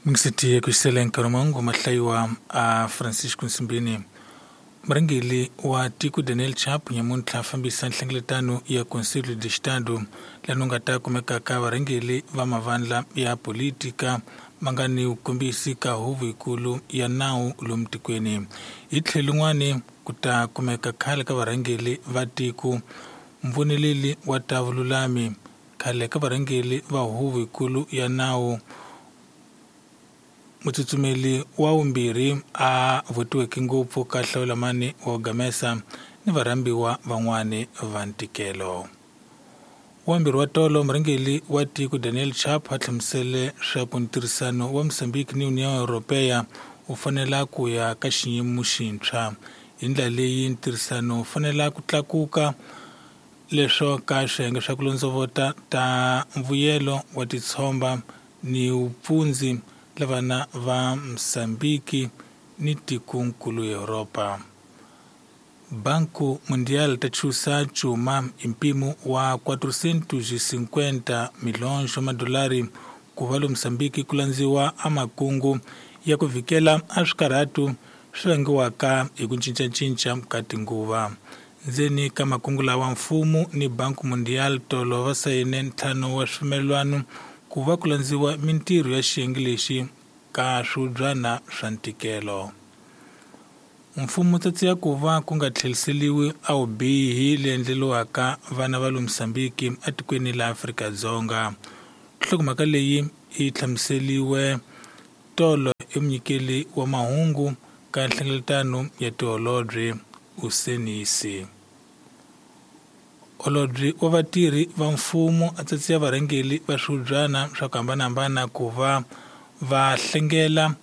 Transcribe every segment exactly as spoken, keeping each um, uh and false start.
Mingiseti ku nkarhi mangu mahlayiwa a Francisco Nsimbini. Murhangeri wa tiko Daniel Chapo nyamuntlha fambisa nhlengeletano ya Conselho de Estado laha nga ta kumekaka varhangeri va mavandla ya politika ma nga ni vukombisi ka huvo yikulu ya nawu lomu tikweni. Hi tlhelo rin'wani ku ta kumeka khale ka varhangeri va tiko, muvoneleli wa ta vululami, khale ka varhangeri va huvo yikulu ya nawu, mutsutsumeli wa vumbirhi a votiweke ngopfu ka hlawulamani wa Gamesa ni varhambiwa van'wani va ntikelo. Wambirhi wa tolo murhangeri wa tiko Daniel Chapo a hlamusele swa ku ntirhisano wa Mozambique ni União Europeia wu fanela ku ya ka xiyimo xintshwa. Hi ndlela leyi ntirhisano wu fanela ku tlakuka leswo ka swiyenge swa ku londzovota ta mbuyelo wa titshomba ni vupfundzi lavana va Mozambique ni tikonkulu Europa. Banco Mundial ta chusa cuma hi mpimo wa quatrocentos e cinquenta milhões wa madolari ku va lo Mozambique ku landziwa a makungu ya ku vhikela a swikarhatu swi vangiwaka hi ku cincacinca ka tinguva. Ndzeni ka makungu lawa mfumo ni Banco Mundial tolo va sayine ntlhanu wa swipfumelelwano ku va ku landziwa mintirho ya xiyenge lexi ka swibyana swa ntikelo. Mfumo wu tsatsiya ku va ku nga tlheriseriwi a vubihi leyi endleriwaka vana va le Mozambique etikweni la Afrika-Dzonga. Nhlokomhaka leyi yi hlamuseriwe tolo hi munyikeli wa mahungu ka nhlengeletano ya tiholobye Usenisi. Holobye wa vatirhi va mfumo a tsatsiya varhangeri va swibyana swa ku hambanahambana ku va va hlengela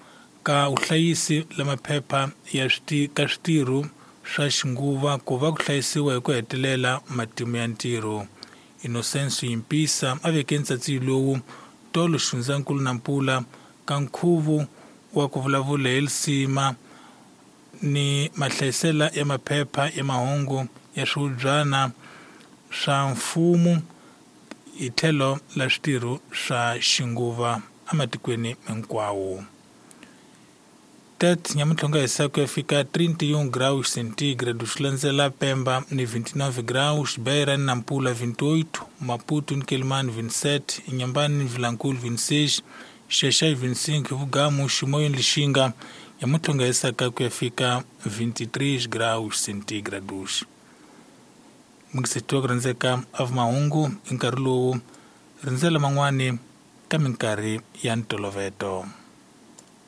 ka vuhlayisi la maphepha ya switi ka switirho swa xinguva ku va ku hlayisiwa hi ku hetelela matimu ya ntirho. Innocencio Yimpisa a veke ntsatsiyo lowu tolo Xifundzankulu Nampula ka nkhuvo wa ku vulavula hi lisima ni mahlayisela ya maphepha ya mahungu ya swibyana swa mfumo hi tlhelo la switirho swa xinguva ematikweni hinkwawo. Tet nyamuntlha nga hisa ku ya fika trinta e um graus centígrados, swi landzela Pemba ni vinte e nove graus, Beira ni Nampula vinte e oito, Maputo ni Quelimane vinte e sete, Inhambane ni Vilankulo vinte e seis, Xexé vinte e cinco, Vugamu, Chimoio ni Lixinga nyamuntlha nga hisaka ku ya fika vinte e três graus centígrados. Mingisetiwa ku rhandzeka a mahungu hi nkarhi lowu rindzela man'wani ka minkarhi ya ntoloveto.